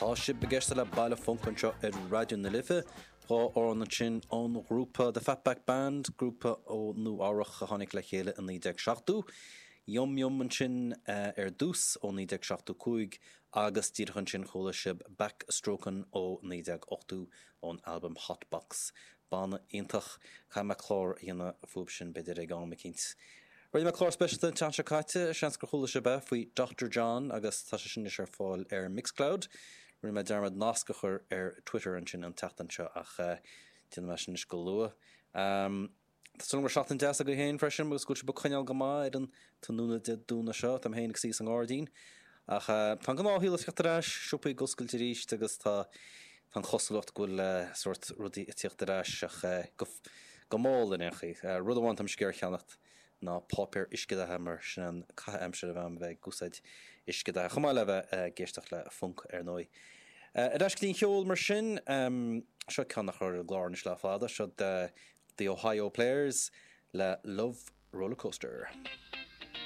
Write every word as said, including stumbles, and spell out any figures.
Tá sibh ag éisteacht le Baile Func anseo ar Raidió na Life, dhá amhrán ansin ón ghrúpa The Fatback Band, grúpa ó Nua Eabhrac a tháinig le chéile i naoi déag seachtó. Yum Yum ansin ar dtús ó naoi déag seachtó cúig agus díreach ansin chuala sibh Backstrokin' ó naoi déag ochtó ón albam Hot Box. Banna iontach. Caithfidh mé clár a dhéanamh fúthu sin b'fhéidir ag am eicínt. Rinne mé clár speisialta an tseachtain seo caite, seans gur chuala sibh é, faoi Doctor John agus tá sé sin anois ar fáil ar Mixcloud. Rinne mé dearmad nasc a chur ar Twitter ansin an tseachtain seo ach déanfaidh mé sin anois go luath. Tá súil agam go raibh seachtain deas agaibh féin freisin agus go bhfuil sibh ag coinneáil go maith ar an tráthnóna Dé Domhnaigh seo. Táim féin ag suí sa ngairdín. Ach tá an gnáthshaol ag teacht ar ais, siopaí ag oscailt arís agus tá tá an chosúlacht go bhfuil sórt rudaí ag tíocht ar ais ach go go mall in aon chaoi. Rud amháin táimse ag iarraidh a cheannacht ná páipéar uiscedhatha mar sin an caitheamh aimsire a bheith agam a bheith ag úsáid uiscedhatha, chomh maith le bheith ag éisteacht le func ar ndóigh. Ar ais go dtí an cheol mar sin, seo ceann nach raibh ar an gclár anois le fada, seo The Ohio Players le Love Rollercoaster.